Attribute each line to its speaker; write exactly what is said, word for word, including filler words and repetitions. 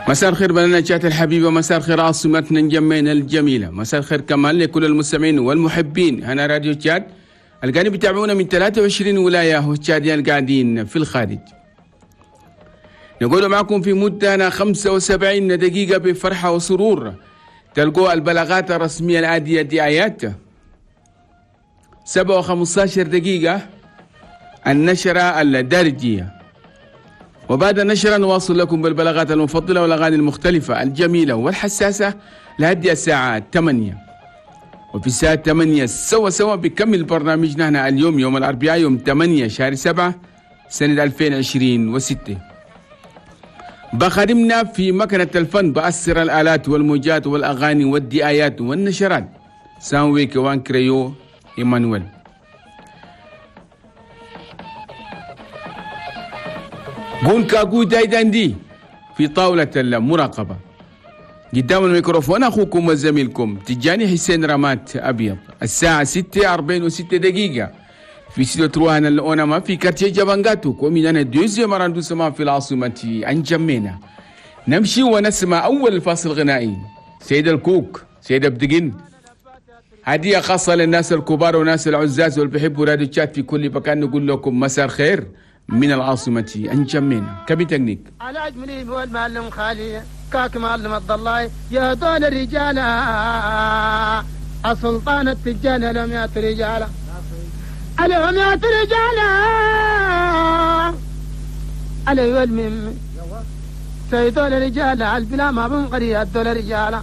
Speaker 1: مساء الخير بلدنا تشاد الحبيبة، مساء الخير عاصمتنا نجمينا الجميلة، مساء الخير كمان لكل المستمعين والمحبين هنا راديو تشاد القاعدين بيتابعونا من ثلاثة وعشرين ولاية والتشاديين القاعدين في الخارج. نقول معكم في مدة خمسة وسبعين دقيقة بفرحة وسرور تلقوا البلاغات الرسمية العادية دعايات سبعة وخمسة دقيقة النشرة الدارجية، وبعد النشرة نواصل لكم بالبلاغات المفضلة والأغاني المختلفة الجميلة والحساسة لهدي الساعة ثمانية. وفي الساعة ثمانية سوا سوا بكمل برنامجنا هنا اليوم يوم الأربعاء يوم ثمانية شهر سبعة سنة ألفين وعشرين وستة. بخدمنا في مكنة الفن بأسر الآلات والموجات والأغاني والدعايات والنشرات سانوي كوان كريو إيمانويل. قول كاكو دايداندي في طاولة المراقبة. قدام الميكروفون أخوكم وزميلكم تجاني حسين رمات أبيض. الساعة ستة أربعين وستة دقيقة في ستة تروهان الأونما في quartier جبانغاتو commune deuxième arrondissement في العاصمة أنجمينا. نمشي ونسمع أول فاصل غنائي سيد الكوك سيد أبدقين، هدية خاصة للناس الكبار وناس العزاز واللي بيحبوا راديو تشاد في كل مكان. نقول لكم مساء الخير من العاصمة أنجمينا. cabine technique
Speaker 2: على أجملي هو المعلم خالي كاك معلم عبد الله يا دول الرجال السلطان التجاني لهم يا رجال لهم يا رجال علي والمم سيدول الرجال البلا ما بنقري الدول الرجال.